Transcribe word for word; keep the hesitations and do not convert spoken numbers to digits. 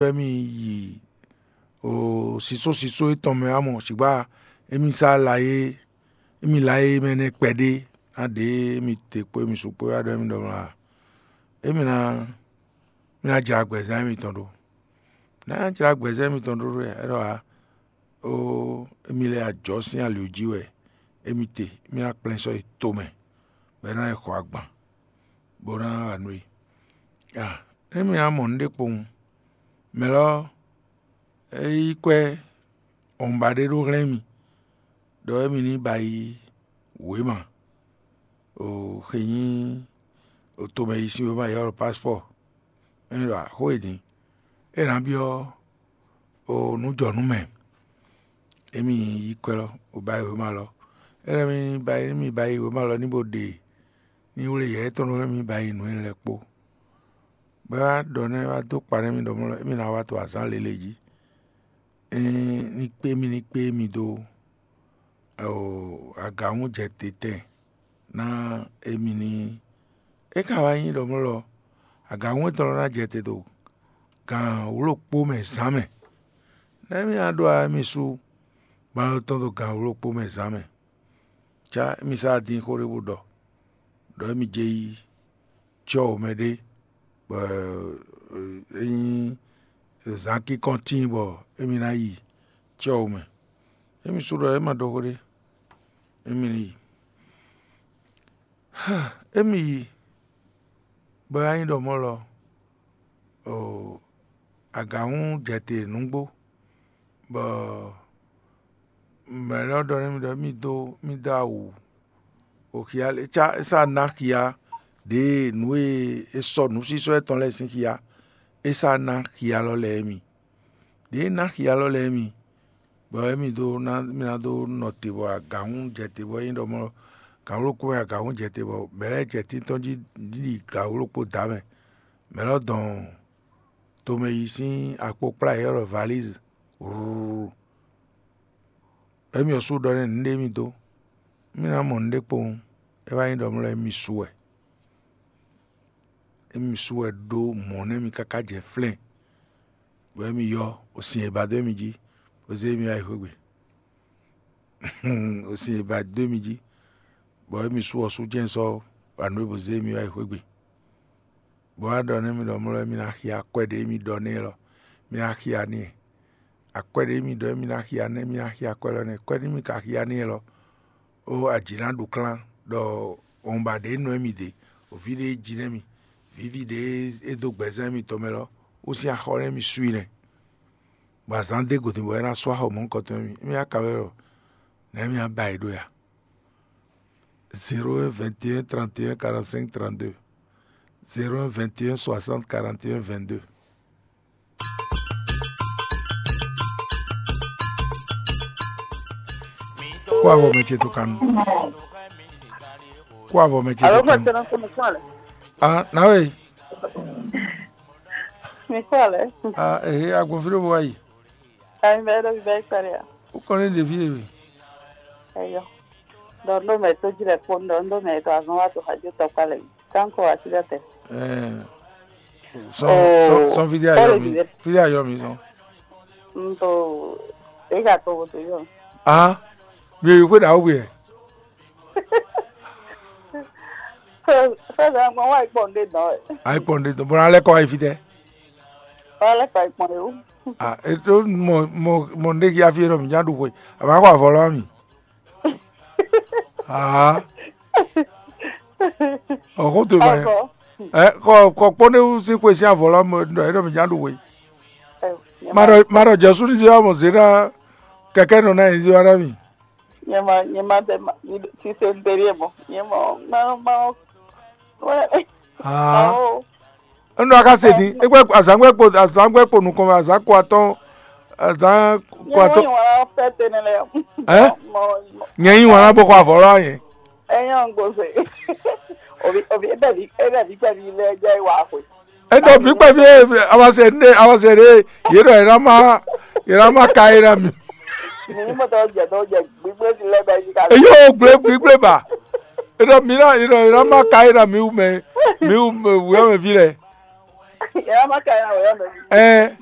wɛ mì yi o sisó sisó étɔn mɛ wá mɔ, sigba émí sá la é émí la é mɛ nɛ́ kpɛɖé ná ɖě émí te kpó émí su kpó wá ɖɔ émí ɖɔ mlá. Émí ná mí ná jlá gbɛzán émítɔn ɖó. Ná jlá gbɛzán émítɔn ɖó ɖó é ɖɔ ǎ. Ó émí lɛ́ ajɔ̌ sín ali jí wɛ émí te, émí ná kplɛ́n sɔ́ yi tomɛ, bɔ é ná yi xɔ agban, bó ná wa nú i. A émí ná mɔ nǔɖé kpowun. Mɛ lɔ é yí kwɛ́ ɔmba ɖé ɖó hlɛ́n mì, ɖɔ émí ní ba yi wěma, o xe nyí o tomɛ yi sín wěma yɔ́ ɖo paspɔ́. É ɖɔ xó e din é ná byɔ́ o nǔ jɔ nú mɛ. Émí yí kwɛ́ lɔ, bó ba yi wěma lɔ. É lɛ́ mì ba yi émí ba yi wěma lɔ ní bó ɖe ní wlé yɛ étɔn lɔ émí ba yi nǔ e lɛ́ɛ kpó. Bɔ é wá ɖɔ nɛ́ é wá dó kpa nú émí ɖɔ mɔ̌ lɔ émí ná wá to azǎn lěle jí. Ní kpé mì ní kpé mì dó agǎnwújɛtɛn ná émí ní. É ka wá nyí ɖɔ mɔ̌ lɔ agǎnwú tɔn lɔ ná jɛ te ɖo gǎn wló kpó mɛ zǎn mɛ. Nɛ́ mì ná ɖó émí sú gbǎn tɔn ɖo gǎn wló kpó mɛ zǎn mɛ. Cá émí sá dín xó ɖé bó ɖɔ ɖɔ émí jɛ yi cyɔ wǒ mɛ ɖé, bɔ é nyí zǎn kínkɔ́n tíin bɔ émí ná yi cyɔ wǒ mɛ. Émí sú ɖɔ é ma ɖɔ xó ɖé, émí ní yi. Émí yi bɔ é wá nyí ɖɔ mɔ̌ lɔ, agǎnwú jɛ te nǔgbó, bɔ mɛ lɛ́ɛ ɖɔ nú mì ɖɔ mì dó mì dó awu oxia é sá ná xia ɖěe nǔ e è sɔ́ nǔsísɔ́ étɔn lɛ́ɛ sín xia, é sá ná xia lɔ lɛ́ɛ mi. Ɖěe é ná xia lɔ lɛ́ɛ mi, bɔ émí dó ná mì ná dó nɔ te bɔ agǎnwú jɛ te bɔ é nyí ɖɔ mɔ̌ gǎnwlókún wɛ agǎnwú jɛ te bɔ mɛ lɛ́ɛ jɛ títɔn jí ɖi gǎnwlókpó dǎ mɛ. Mɛ lɔ dɔn tomɛ yi sín akpokplá e ylɔ́ ɖɔ valízi. Rúrú. Émí ɔ́ sú ɖɔ nɛ́ nǔɖé mì dó. Mì ná mɔ nǔɖé kpowun. É wá nyí ɖɔ mlɔ́ émí su wɛ. Émí su wɛ ɖó mɔ̌ nú émí káká jɛ flɛ́n, bɔ émí yɔ osin e ba dó émí jí, bó zé émí wá yi xwé gbe. Osin e ba dó émí jí, bɔ émí su ɔ́ sú jɛ́n sɔ́ wa nǔ e bó zé émí wá yi xwé gbe. Bó wá ɖɔ nú émí ɖɔ mlɔ́ émí ná xia akwɛ́ ɖé émí ɖɔ n'i lɔ, mì ná xia n'i. Akwɛ́ ɖé émí ɖɔ émí ná xia nɛ́, mì ná xia akwɛ́ lɔ nɛ́. Kwɛ́ nú mì ka xia n'i lɔ, ó ajǐ ná ɖu klán ɖɔ wɔ̌nba ɖě nɔ émí ɖe, vǐ ɖě jí nɛ́ mi, vǐví ɖě é dó gbɛzán émítɔn mɛ lɔ, ó sín axɔ nɛ́ mi sú i nɛ́. Bɔ azǎn dó gǒdín bɔ é ná sú axɔ mɔ̌hunkɔtɔn émí. Émí ná ka wɛ ɖɔ nɛ̌ mì ná ba yi ɖó ya? Zéro un vingt et un trente et un quarante-cinq trente-deux. Zéro un vingt et un soixante quarante et un vingt-deux. Kó avɔ mɛ ce tó kanu. Kó avɔ mɛ ce tó kanu. Ah, nawe. Mi kɔ lɛ. Ah, eh, agbɔnfin ɖo bɔ ayi. Ayi bɛ ɖo bɛ kpɛrɛ ya. Wokɔ ne ɖevi ye we. Eyɔ. Dɔ ndo mɛ to jí lɛ kpɔn dɔ ndo mɛ to azɔn wa to xajo tɔ kpa lɛ. Kanko asi lɛ tɛ. Eh. Sɔn sɔn sɔn fidi ayɔ mi. Fidi ayɔ mi sɔn. N to e ka to bo to yɔ. Ah. Mi yi ko da wo yɛ. Fɛn gbɔn wa ikpɔn de dɔn. Ayi kpɔn de dɔn. Bɔn alɛ kɔ ayi fitɛ. Wa lɛ kɔ ikpɔn de o. Ah, eto mɔ mɔ mɔ nde ki afi yɛ mi nya ɖu xwe. A ma kɔ avɔ lɔ mi. Ah. Ɔxo to ma yɛ. Ɛ kɔ kɔ kpɔn ne si xwe si avɔ lɔ mɔ ɖɔ yɛ mi nya ɖu xwe. Ma ɖɔ ma ɖɔ Jesu ni se wa mɔ zena kɛkɛ nɔ na yin si wa na mi. Nyɛ ma nyɛ ma bɛ ma ti se n teɖie mɔ nyɛ mɔ ma ma wɛ. Ah. Enu aka se din ekpe azangbe kpo azangbe kpo nukɔn azan kɔ atɔn azan kɔ atɔn. Nyɛ wala fɛ tene lɛ. Ɛ? Nyɛ yi wala bɔ kɔ avɔ lɔ yɛ. Ɛyɛ n gbɔ se. Obi obi ebe bi ebe bi kpɛ bi lɛ jɛ wa xwe. Eɖɔ vǐ kpɛví awasɛ ɖe awasɛ ɖe yě ɖɔ yě ná má yě ná má ka é ná mi. Mi ní mɔtɔ jɛ dɔ jɛ gbígbé ti lɛ bɛ yí ka. Eyó gblé gbígbé ba. Eɖɔ mi ná yě ɖɔ yě ná má ka é ná mi wú mɛ mi wú wǔyɔ́mɛví lɛ. Yɛ má ka yà wòyɔ mɛ. Ɛ.